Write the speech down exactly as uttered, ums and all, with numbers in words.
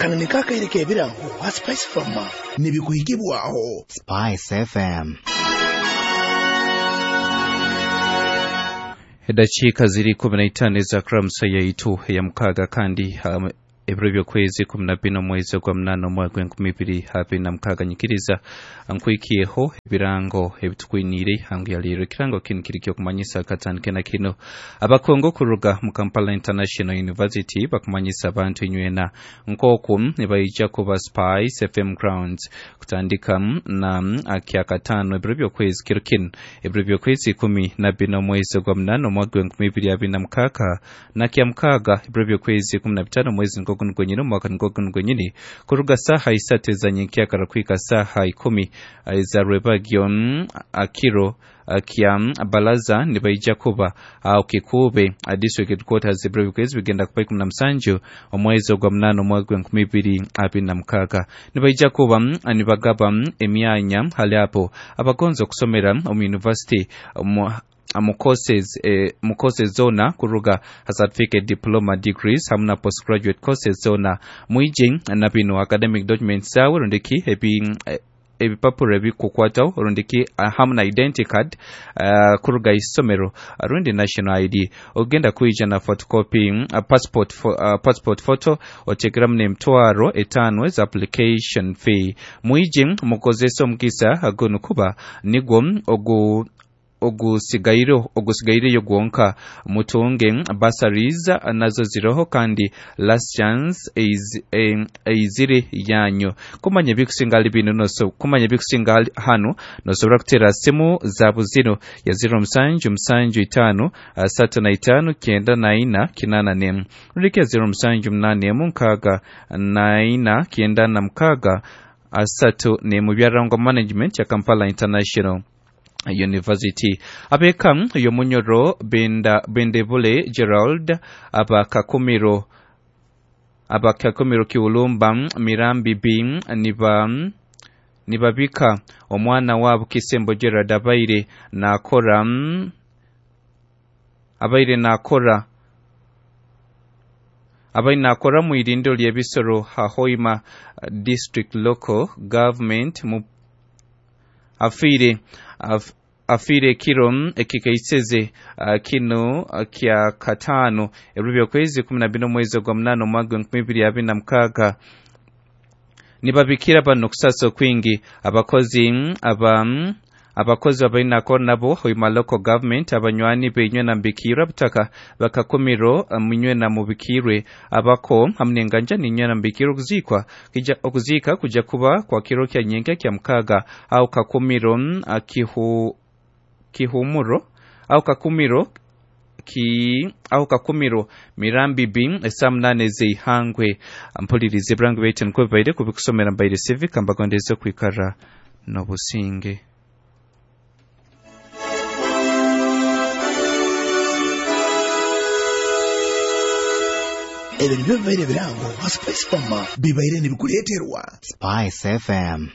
Kano nikaakaire k'ebirango ha Spice Farmer nibikuhikibwaho Spice F M. Edakiika ziri kumi na itaano eza Kramsa yaitu ya mukaaga kandi um, ebiro by'okwezi kumi na bina omwezi gwa munaana omwaka gw'enkumi ibiri abiri na mukaaga. Nyikiriza nkwikiyeho ebirango ebitukwiniire hangu ya leero. Ekirango kinu kiri ky'okumanyisa akatandike na kino. Abakongo kuruga mu Kampala International University bakumanyisa abantu inywena nk'oku nibaija kuba Spice F M Grounds kutandika na kyakataano ebiro by'okwezi kiro kinu ebiro by'okwezi ikumi na bina omwezi gwa munaana omwaka gw'enkumi ibiri abiri na mukaaga na kya mukaaga ebiro by'okwezi ikumi na bitaano omwezi nkogu gwenyini omwaka nkogu gwenyini kuruga saha isatu ezanyenkyakara kuhika saha ikumi eza rwebagyo akiro kya balaza nibaija kuba aho Kikube district headquarters ebiro by'okwezi bigenda kuba ikumi na musanju omwezi ogwa munaana omwaka gw'enkumi ibiri abiri na mukaaga. Nibaija kuba nibagaba emyanya hali abo abagonza okusomera omu university mu courses eh, mu courses zona kuruga certificate, diploma, degrees hamwe na postgraduate courses zona. Mwije na bino academic documents zawe rundiki ebi eh, ebipapuro ebikukwataho rundiki hamwe na identity card uh, kuruga isomero rundi national I D. Ogenda kuija na photocopy uh, passport fo, uh, passport photo otekeramu n'emitwaro etaano eza application fee. Mwije mukozesa omukisa guno kuba nigwo ogu ogusigairo ogusigaireyo gwonka. Mutunge bursaries nazo ziroho kandi last chance is eizire yanyu. Kumanya bikusinga ali bino noso kumanya bikusinga hano nosobora kutera simu zabu zino ya zero musanju musanju itano asatu na itano kyenda na ina kinana nemu rulike zero musanju munane emu nkaaga na ina kyenda na mukaaga asatu nemu. Byarangwa management ya Kampala International University. Abeka yomunyoro benda bendebule Gerald abakakumiro abakakumiro kiulumba Mirambi B niba nibabika omwana wabo Kisembo Gerald abaire nakora abaire nakora abaire nakora mu irindo ly'ebisoro Hoima District Local Government mu afiire af, afiire kiro ekikaiseze uh, kino uh, kya katano ebiro by'okwezi kumi na bina omwezi gwa munaana omwaka gw'enkumi ibiri abiri na mukaaga. Nibabikira bano okusasa okwingi abakozi aba abakozi abainako nabo Hoima Local Government abanywani benywe na mbikirwe abutaka bakakumiro munywe na mubikirwe abako hamwe n'enganja ninywe na mbikirwe okuzikwa kija okuzika kuja kuba kwa kiro kya nyenke kya mukaaga au kakumiro kihu kihumuro au kakumiro ki au kakumiro Mirambi B esaa munane zeihangwe. Mpulirize burango baitu nikwo bibaire kubikusomera mbaire civic mbagondeze kwikara n'obusinge. Ebyo nibyo bibaire birango ha Spice Farmer bibaire nibikuleeterwa Spice F M.